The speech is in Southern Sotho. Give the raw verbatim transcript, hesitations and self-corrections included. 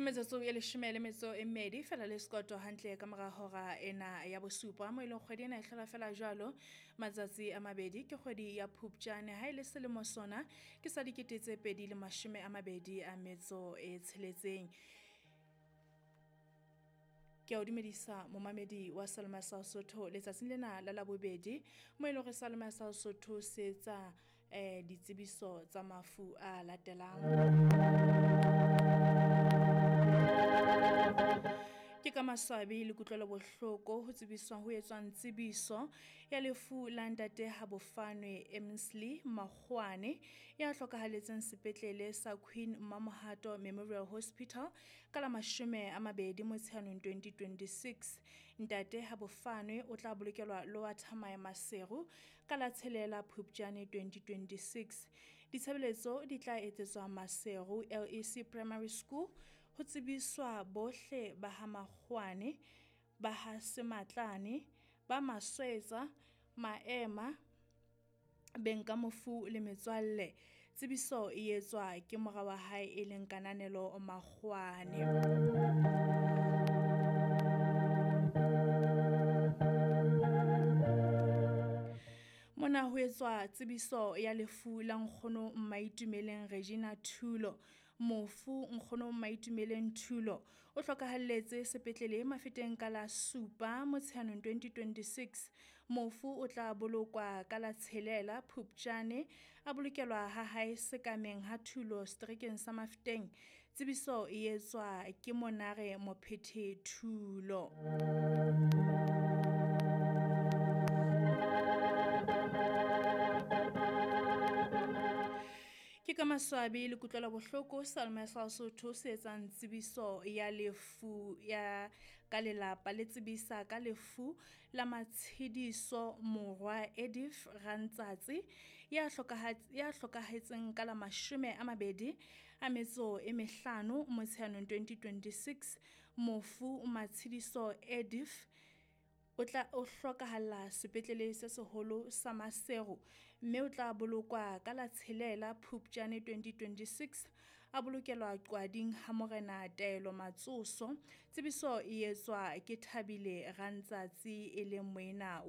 Metsotso e leshome le metso e mmedi fela le sekoto hantle ka mora hora ena ya bosupa, mo e leng kgwedi ena e hlola fela jwalo matsatsi a mabedi ke kgwedi ya Phupjane. Ha e le selemo sona ke sa dikete tse pedi le mashome a mabedi a metso e tsheletseng. Ke a o dumedisa momamedi wa Salema sa Sotho letsatsing lena la Labobedi, mo e leng hore Salema sa Sotho se etsa eh ditsebiso tsa mafu a latelang. Ke ka maswabi le kutlwelo bohloko ho tsebiswa ho etswang tsebiso ya lefu la ntate Habofanwe Emsley Makgoane ya hlokahaletseng sepetlele sa Queen Mamohato Memorial Hospital ka la mashome a mabedi Motsheanong twenty twenty-six. Ntate Habofanwe o tla bolokelwa Lower Thamae Maseru ka la tshelela Phupjane twenty twenty-six. Ditshebeletso di tla etsetswa Maseru L E C Primary School. Ho tsebiswa bohle ba ha Makgoane, ba ha Sematlane, ba Maswetsa, Maema, beng ka mofu le metswalle. Tsebiso e etswa ke mora wa hae e leng Kananelo Makgoane. Mona ho etswa tsebiso ya lefu la nkgono Mmaitumeleng Regina Thulo. Mofu nkgono Mmaitumeleng Thulo o hlokahalletse sepetlele Mafeteng ka la supa Motsheanong twenty twenty-six. Mofu o tla bolokwa ka la tshelela Phupjane, a bolokelwa ha hae sekameng ha Thulo seterekeng sa Mafeteng. Tsebiso e etswa ke Monare Mophethe Thulo. Ke ka maswabi le kutlwelo bohloko Salma sa Sotho se etsang tsebiso ya lefu ya ka lelapa le tsebisa ka lefu la Matshediso Morwa Edith Rantsatsi ya hlokahat-, ya hlokahetseng ka la mashome a mabedi a metso e mehlano Motsheanong twenty twenty-six. Mofu Matshediso Edith o tla o hlokahalla sepetlele se seholo sa Maseru mme o tla bolokwa ka la tshelela Phupjane twenty twenty-six, a bolokelwa Qwading ha Morena Taelo Matsoso. Tsebiso e etswa ke Thabile Rantsatsi e leng moena